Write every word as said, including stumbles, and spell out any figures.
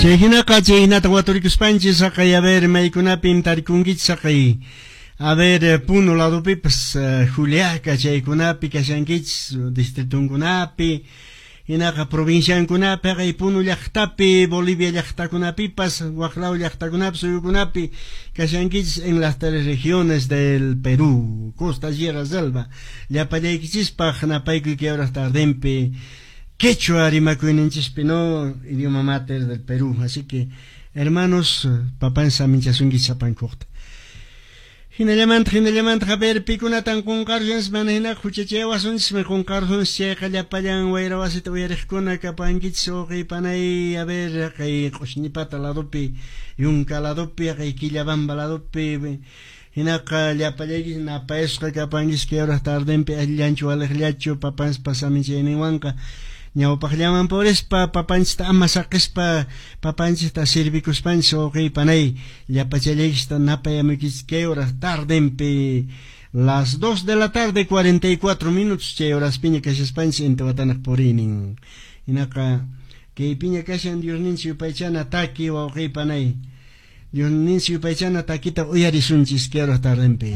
Chay hinaqa chay hinata waturikuspanchis haqay a ver maykunapim tarikunkichis haqay a ver Puno ladopipas uh, Juliaca chaykunapi kashankichis distritunkunapi hinaqa provinciankunapi haqay Puno llaqtapi Bolivia llaqtakunapipas waqlaw llaqtakunapi suyukunapi kashankichis en las tres regiones del Perú, costa, sierra, selva, llapallaykichispaq napaykuy kay horas tardenpi quechua rimakuyninchispi, no, idioma mater del Perú. Así que, hermanos, papan saminchasunkichis sapankuqta. Hinallamanta, hinallamanta, a ver, pikunatan qunqarunchis, mana hinaqa huchachawasunchis, qunqarunchis chayqa llapallan wayra wasita uyariqkuna kapankichis wawqiy panay, a ver, kay Q'ushñipata ladopi, Yunka ladopi, kay Quillabamba ladopi, hinaqa llapallaykichis napayasqa kapankichis kay horas tardenpi allillanchu waliqllachu papanchispa saminchayninwanqa ñawpaqllaman purispa papanchista ama saqispa papanchista servikuspanchis wawqiy panay llapachallaykichista napayamuykichis kay horas tardenpi las dos de la tarde cuarenta y cuatro minutos chay horaspiña kashaspanchis intiwatanaq puriynin. Hinaqa kaypiña kashan Diosninchik yupaychana taki, wawqiy panay, Diosninchik yupaychana takita uyarisunchis kay horas tardenpi.